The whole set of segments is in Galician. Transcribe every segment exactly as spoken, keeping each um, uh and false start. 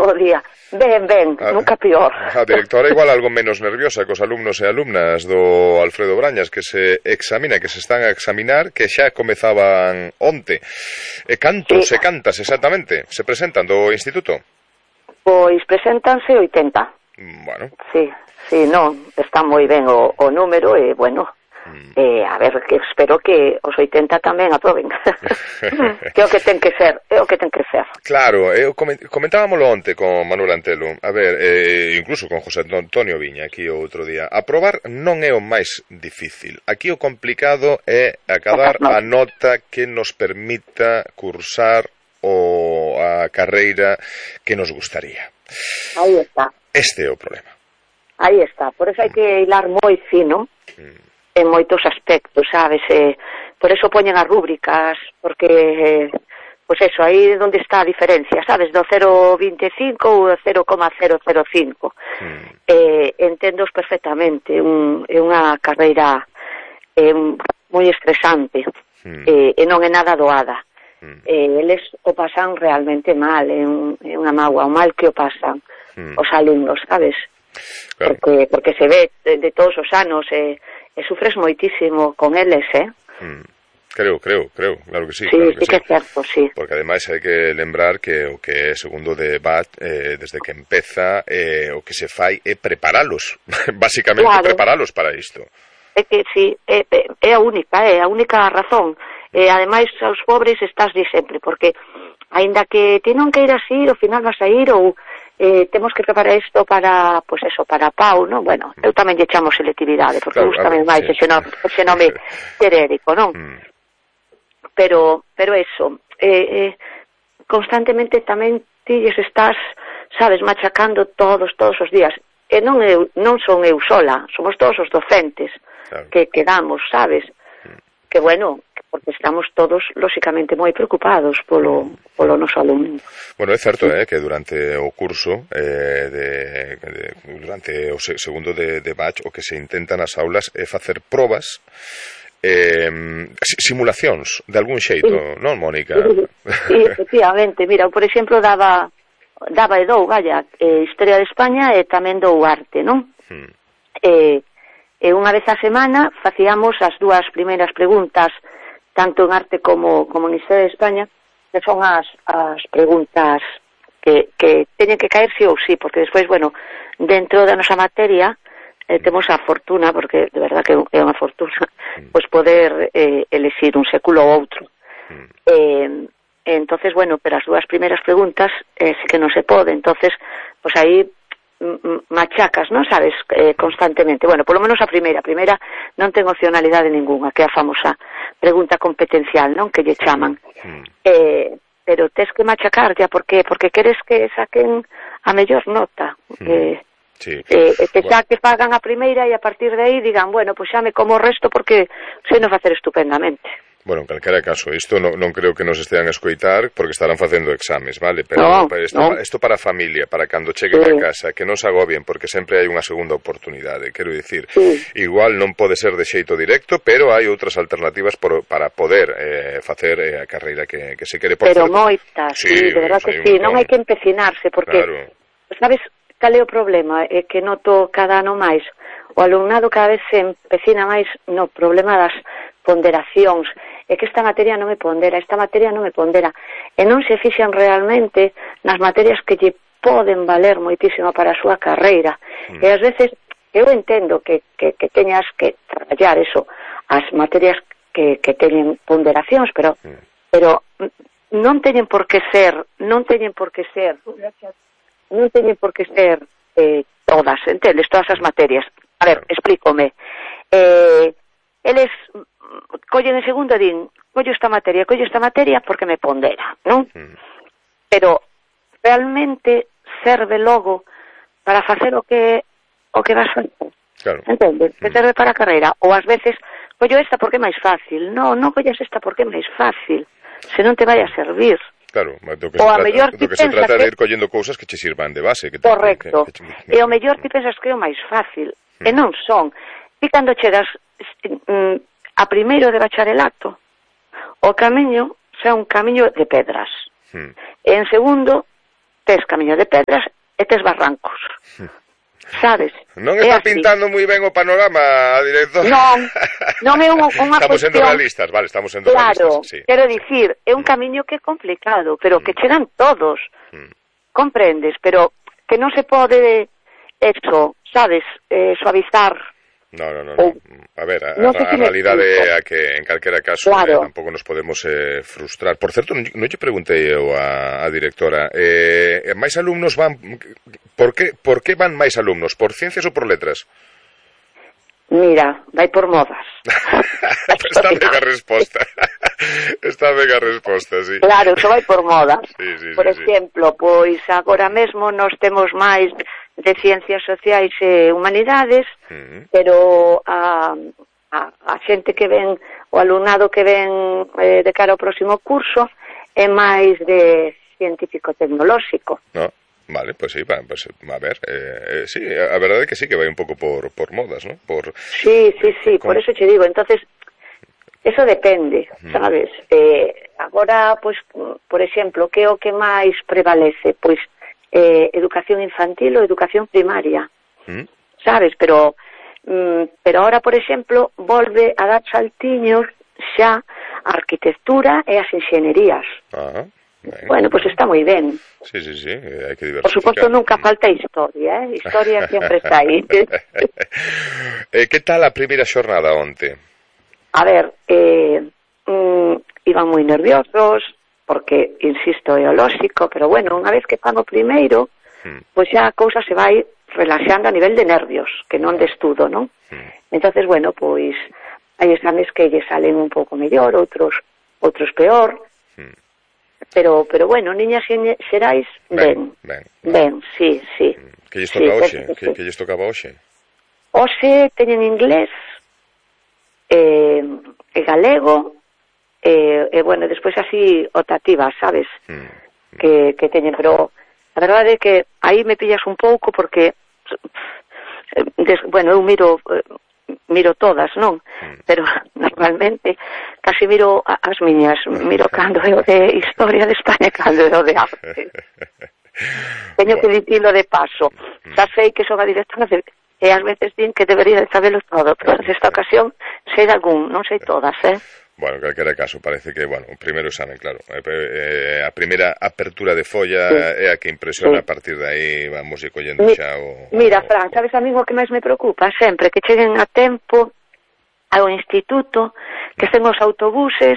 o día. Ben, ben, a, nunca pior. A directora igual algo menos nerviosa cos alumnos e alumnas do Alfredo Brañas que se examina, que se están a examinar, que xa comezaban onte. E cantos sí. e cantas exactamente se presentan do instituto? Pois preséntanse oitenta. Bueno. Sí, sí, non, está moi ben o, o número e, bueno... Eh, a ver, que espero que os oitenta tamén aproben. Que é o que ten que ser, é o que ten que ser. Claro, eu comentábamoslo onte con Manuel Antelo, a ver, eh, incluso con José Antonio Viña aquí o outro día. Aprobar non é o máis difícil. Aquí o complicado é acadar a nota que nos permita cursar o a carreira que nos gustaría. Aí está. Este é o problema. Aí está, por eso hai que hilar moi fino. Mm. En moitos aspectos, sabes, eh, por eso poñen as rúbricas, porque, eh, pois eso, aí é onde está a diferencia, sabes, do cero coma veinticinco ou do cero coma cero cero cinco. Mm. Eh, entendos perfectamente, un, é unha carreira eh, moi estresante, mm. eh, e non é nada doada. Mm. Eh, eles o pasan realmente mal, é, un, é unha mágoa, o mal que o pasan mm. os alumnos, sabes? Claro. Porque, porque se ve de, de todos os anos, eh, e sufres moitísimo con eles, eh? Mm. Creo, creo, creo, claro que sí. Sí, claro que sí que sí. é certo, sí. Porque ademais hai que lembrar que o que é segundo de B A T, eh, desde que empeza, eh, o que se fai é preparalos, basicamente claro. preparalos para isto. É que sí, é, é a única, é a única razón. E ademais aos pobres estás de sempre, porque aínda que ti non queiras ir, ao final vas a ir, ou eh, temos que preparar isto para, pois pues eso, para Pau, non? Bueno, eu tamén lle chamo selectividade, porque claro, gusta máis sí. ese, nome, ese nome genérico, non? Mm. Pero, pero eso, eh, eh, constantemente tamén ti lles estás, sabes, machacando todos, todos os días. E non, eu, non son eu sola, somos todos os docentes claro. que quedamos, sabes? Mm. Que bueno... porque estamos todos, lóxicamente, moi preocupados polo, polo noso alumno. Bueno, é certo, eh, que durante o curso, eh, de, de, durante o segundo de, de batch, o que se intenta nas aulas é facer probas, eh, simulacións, de algún xeito, sí. non, Mónica? Sí, efectivamente. Mira, por exemplo, daba, daba e dou, vaya, eh, Historia de España e tamén dou arte, non? Hmm. Eh, e unha vez a semana facíamos as dúas primeiras preguntas tanto en arte como, como en Historia de España, que son as, as preguntas que, que teñen que caer sí ou sí, porque despois, bueno, dentro da nosa materia eh, temos a fortuna, porque de verdad que é unha fortuna, pois poder eh, elexir un século ou outro. Eh, entonces, bueno, pero as dúas primeiras preguntas eh, sí que non se pode, entonces, pois aí machacas, non sabes, eh, constantemente. Bueno, polo menos a primeira. A primeira non ten opcionalidade ninguna, que é a famosa pregunta competencial, non? Que lle chaman. Mm. Eh, pero tes que machacar ya, porque porque queres que saquen a mellor nota. Mm. Eh, sí. eh, que xa bueno. que fagan a primeira e a partir de aí digan, bueno, pois xa me como o resto porque sei non facer estupendamente. Bueno, en calquera caso, isto non, non creo que nos estean a escoitar porque estarán facendo exames, vale? Pero no, isto, no. isto para a familia, para cando cheguen sí. a casa, que non se agobien porque sempre hai unha segunda oportunidade, quero dicir. Sí. Igual non pode ser de xeito directo, pero hai outras alternativas por, para poder eh, facer eh, a carreira que, que se quere. Por pero certo. moitas, sí, sí, de verdad que sí, non hai que empecinarse porque, claro. sabes, cal é o problema? É que noto cada ano máis, o alumnado cada vez se empecina máis no problema das ponderacións, é que esta materia non me pondera, esta materia non me pondera, e non se fixan realmente nas materias que lle poden valer moitísimo para a súa carreira, mm. e ás veces eu entendo que, que, que teñas que traballar eso, as materias que, que teñen ponderacións, pero mm. pero non teñen por que ser, non teñen por que ser, non teñen por que ser eh, todas, entendes, todas as materias. A ver, explícome. Eh, eles collen en segundo e din, collo esta materia, collo esta materia porque me pondera, non? Mm. Pero realmente serve logo para facer o que o que vas facer. Claro. Entendes? Que serve para a carreira. Ou ás veces, collo esta porque é máis fácil. Non, non collas esta porque é máis fácil. Se non te vai a servir. Claro, do que, se trata, do que se trata de ir collendo cousas que che sirvan de base. Que te, correcto. Que, que, que, e o mellor ti pensas que é o máis fácil. Mm. E non son. Ti cando chegas mm, a primeiro de bacharelato, o camiño xa un camiño de pedras. Mm. E en segundo, tes camiño de pedras e tes barrancos. Sabes? Non está pintando moi ben o panorama a director. Non, non é unha, unha estamos cuestión... sendo realistas, vale, estamos sendo claro, realistas. Sí. Quero dicir, é un camiño que é complicado, pero que chegan todos. Mm. Comprendes? Pero que non se pode, eso, sabes, eh, suavizar. No, no, no, no. A ver, a, no a, a realidade é a que en calquera caso claro. eh, tampouco nos podemos eh, frustrar. Por certo, non, non lle preguntei eu a, a directora, eh, máis alumnos van, por que, por que van máis alumnos? Por ciencias ou por letras? Mira, vai por modas. Está ben a resposta. Está ben a resposta, sí. Claro, que vai por modas. Sí, sí, por sí, exemplo, sí. Pois agora mesmo nós temos máis de ciencias sociais e humanidades, uh-huh. pero a, a, a xente que ven, o alumnado que ven eh, de cara ao próximo curso é máis de científico-tecnolóxico. No. Vale, pues sí, va, pues, a ver, eh, eh, sí, a verdade é que sí que vai un pouco por, por modas, ¿no? Por, sí, sí, sí, por, por eso te digo, entonces, eso depende, mm. sabes? Eh, agora, pues, por exemplo, que é o que máis prevalece? Pois, eh, educación infantil ou educación primaria, mm. sabes? Pero, mm, pero ahora, por exemplo, volve a dar saltiños xa a arquitectura e as inxenierías. Ajá. Ben, bueno, pues está moi ben. Sí, sí, sí, hai que diversificar. Por suposto, nunca falta historia, eh? Historia sempre está aí. eh, que tal a primeira xornada onte? A ver, eh, mm, iban moi nerviosos, porque, insisto, é o lóxico, pero bueno, unha vez que fan o primeiro, hmm. pois xa a cousa se vai relaxando a nivel de nervios, que non de estudo, non? Hmm. Entonces, bueno, pois, hai exames que lle salen un pouco mellor, outros outros peor, hmm. Pero, pero bueno, niñas xerais, ben, ben, ben, sí, sí. Que lles toca hoxe? Que, que lles tocaba hoxe? Hoxe teñen inglés, e, e galego, e, e bueno, despois así optativas, sabes? Mm. Que, que teñen, pero a verdade é que aí me pillas un pouco porque, des, bueno, eu miro... miro todas, non? Mm. Pero normalmente casi miro as miñas, miro cando é o de Historia de España, cando é o de Arte. Teño que dicilo de paso. Mm. Xa sei que son a directora de, e ás veces din que debería de sabelo todo, pero nesta ocasión sei de algún, non sei todas, eh? Bueno, en calquera caso, parece que, bueno, o primeiro examen, claro, eh, a primeira apertura de folla sí. é a que impresiona, sí. A partir de aí vamos ir collendo Mi, xa o... Mira, o... Fran, sabes a mí o que máis me preocupa? Sempre que cheguen a tempo ao instituto, que estén os autobuses,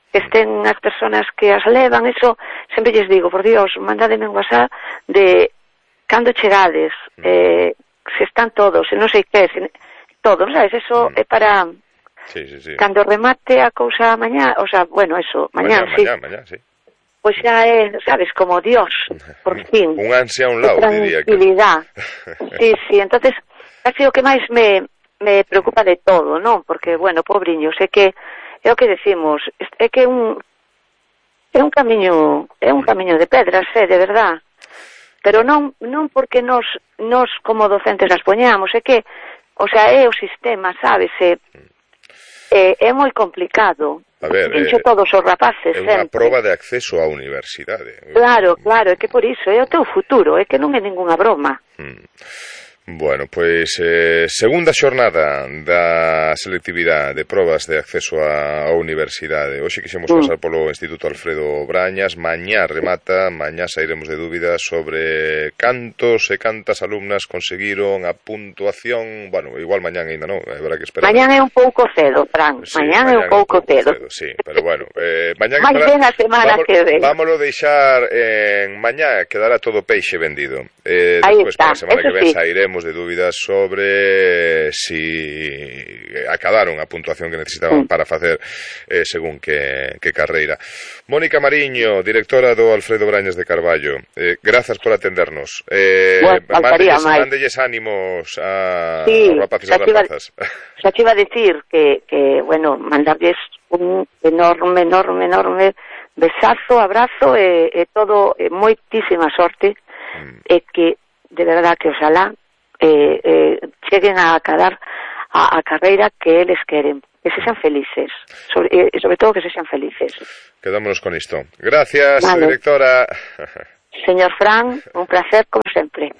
que estén as persoas que as levan, eso, sempre lles digo, por Dios, mandádeme un WhatsApp de cando chegades, mm. eh, se están todos, se non sei que, se, todos, sabes, eso mm. é para... Sí, sí, sí. Cando remate a cousa mañá, o sea, bueno, eso, mañá, mañá sí. Mañá, mañá, sí. Pois pues xa é, sabes, como Dios, por fin. Un ansia a un lado, diría que. Tranquilidad. Sí, sí, entonces, casi o que máis me, me preocupa de todo, non? Porque, bueno, pobriños, é que, é o que decimos, é que un, é un camiño, é un camiño de pedras, é, de verdad. Pero non, non porque nos, nos como docentes as poñamos, é que, o sea, é o sistema, sabes, é... É, é moi complicado. A ver, Pincho eh, todos os rapaces é unha sempre. proba de acceso á universidade. Claro, claro, é que por iso é o teu futuro, é que non é ningunha broma. Hmm. Bueno, pois eh, segunda xornada da selectividade de probas de acceso á universidade. Hoxe quixemos mm. pasar polo Instituto Alfredo Brañas. Mañá remata, mañá sairemos de dúbidas sobre cantos e cantas alumnas conseguiron a puntuación. Bueno, igual mañán ainda non, habrá que esperar. Mañán é un pouco cedo, Fran, sí, mañán, mañán é un pouco, un pouco cedo. cedo. Sí, pero bueno, eh, mañán máis ben a semana vamos, que ven. Vámolo deixar en mañá, quedará todo peixe vendido. Eh, Aí despois, está, para a semana eso que ven sí. sairemos de dúbidas sobre si acabaron a puntuación que necesitaban mm. para facer eh, según que, que carreira. Mónica Mariño, directora do Alfredo Brañas de Carballo, eh, grazas por atendernos. Eh, bueno, mándelles, mándelles ánimos a, sí, aos rapaces e rapazas. Xa te iba a decir que, que, bueno, mandarles un enorme, enorme, enorme besazo, abrazo e, e todo, e moitísima sorte mm. e que, de verdad, que oxalá Eh, eh, cheguen a acabar a, a carreira que eles queren, que se sean felices, sobre, e eh, sobre todo que se sean felices. Quedámonos con isto. Gracias, vale. Directora. Señor Fran, un placer como sempre.